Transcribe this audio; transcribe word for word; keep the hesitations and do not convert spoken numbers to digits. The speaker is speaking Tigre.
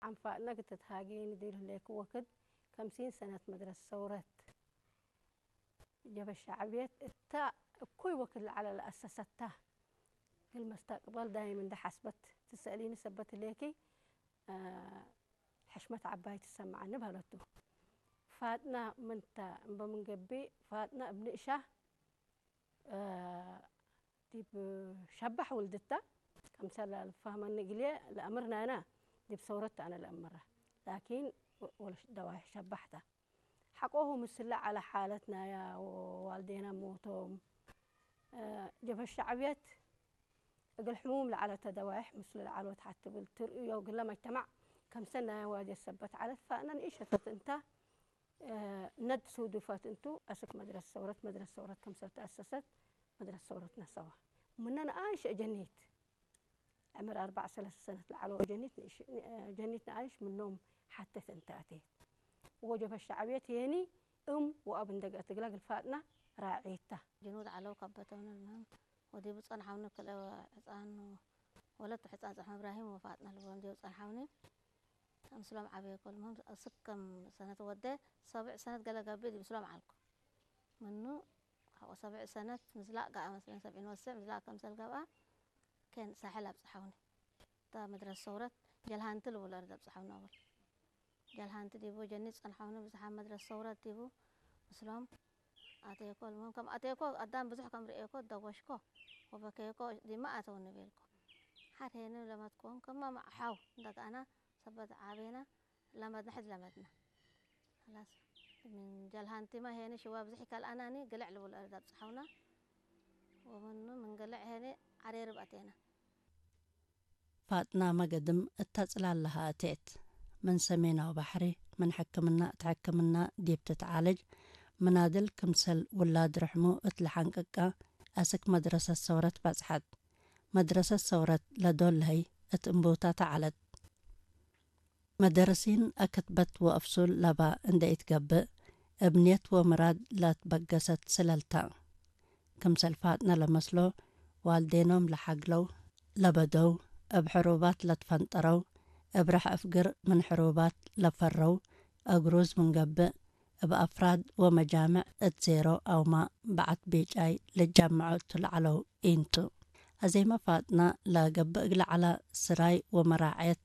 ዐንፋጥነ እግል ትትሃጌ ንዴል ህሌኩ ወክድ፣ ከምሲን ሰነት መድረሰት ሰውረት ጀበ ሸዕብየት እተ እኩይ ወክድ ለዐለ ለአሰሰት ተ። እግል መስተቅበል ዳይም እንዴ ሐስበት ትሰአሊኒ ሰበት ህሌኪ፣ አ፣ ሕሽመት ዐባይ ትሰመዐኒ በህለቱ። ፋጥነ ምን ተ እምበ ምን ገብእ፣ ፋጥነ እብ ንእሻ እ፣ ዲብ ሸባሕ ውልድተ፣ ከምሰል ለልፋህመኒ እግልዬ ለአምር ናይነ፣ ዲብ ሰውረት ተ አነ ለአምረ። ላኪን ወ-፣ ወለሽ ደዋይሕ ሸባሕ ተ። ሐቆሁ ምስለ ዐለ ሓለት ናያ ወዋልዴነ ሞቶም፣ እ፣ ጀብሀት ሸዕብየት እግል ሕሙም ለዐለተ ደዋይሕ ምስሉ ለዐሎት ሐቲ እብል ትርእዮ እግለ መጅተማዕ ከምሰል ናያ ዋድየት ሰበት ዐለት። ፈእነ ንኢሸተት እንተ፣ እ፣ ነድ ሱዱፈት እንቱ፣ አስክ መድረሰት ሰውረት፣ መድረሰት ሰውረት ከምሰል ተአሰሰት፣ መድረሰት ሰውረት ነሰዋ። ምነ ነአይሽ ጀኒት፣ ዕምር አርበዕ ሰለስ ሰነት ለዐለው ጀኒት ንእሽ-፣ እ፣ ጀኒት ነአይሽ ምኖም ሐቴት እንተ አቴት። ወጀብሀት ሸዕብየት የኒ እም ወአብ እንዴ ገአት እግላ እግል ፋጥነ ራዔት ተ። ጅኑድ ዐለው ከበተውነ፣ المهم ወዲቡ ጸንሐውኒ ክልኤ ሕጻን ወለት ሕጻን ጸሐመ እብራሂም ወፋጥነ ልብሎም ዲቡ ጸንሐውኒ። ምስሎም ዐቤኮ። المهم አስክ ከም ሰነት ወዴ፣ ሰብዕ ሰነት ገሌ ገብእ ዲብ ምስሎም ዐልኩ። ምኑ ሐቆ ሰብዕ ሰነት ምዝላቅ ገአ መስለን፣ ሰብዒን ወሰዕ ምዝላቅ ከምሰል ገብአ፣ ኬን ሳሕል አብጽሐውኒ። እተ መድረሰት ሰውረት ጀልሃንቲ ልቡል አርድ አብጽሐውኒ አወል። ጀልሃንቲ ዲቡ ጀኒት ጸንሐውኒ፣ ብዝሓም መድረሰት ሰውረት ዲቡ ምስሎም አቴኮ። المهم ከም አቴኮ አዳም ብዙሕ ከም ርኤኮ ደወሽኮ ወበኬኮ፣ ዲመ አተውኒ ቤልኮ። ሐር ሄኒ ለመድኮም ከመ ሐው እንዴ ገአነ ሰበት ዐቤነ ለመድነ፣ ሕድ ለመድነ። ኸላስ ምን ጀልሃንቲመ ሄኒ ሽዋ ብዝሕ ይከልአናኒ፣ ግልዕ ልቡል አርድ አብጽሐውነ። ወምኑ ምን ግልዕ ሄኒ ዐሬርብ አቴነ። ፋጥናመ ገድም እተ ጽላል ለሀ አቴት። ምን ሰሜናዊ ባሕሪ፣ ምን ሕክምና እት ሕክምና ዲብ ትትዓለጅ፣ ምናድል ክምሰል ውላድ ርሕሙ እት ለሐንቅቀ፣ አስክ መድረሰት ሰውረት በጽሐት። መድረሰት ሰውረት ለዶል ለህይ እት እንቡተ ተዐለት። መደርሲን አክትበት ወአፍሱል ለባ እንዴ ኢትገብእ፣ እብ ንየት ወምራድ ለትበገሰት ስለል ተ። ክምሰል ፋጥነ ለመስሎ፣ ዋልዴኖም ለሐግለው ለበደው፣ እብ ሕሩባት ለትፈንጠረው፣ እብ ረሕ አፍግር ምን ሕሩባት ለፈረው፣ አግሩዝ ምን ገብእ፣ እብ አፍራድ ወመጃምዕ እት ዜሮ አውመ በዐት ቤጫይ ልጀመዑ እቱ ለዐለው ኢንቱ። አዜመ ፋጥነ ለገብእ እግለ ዐለ ስራይ ወመራዐየት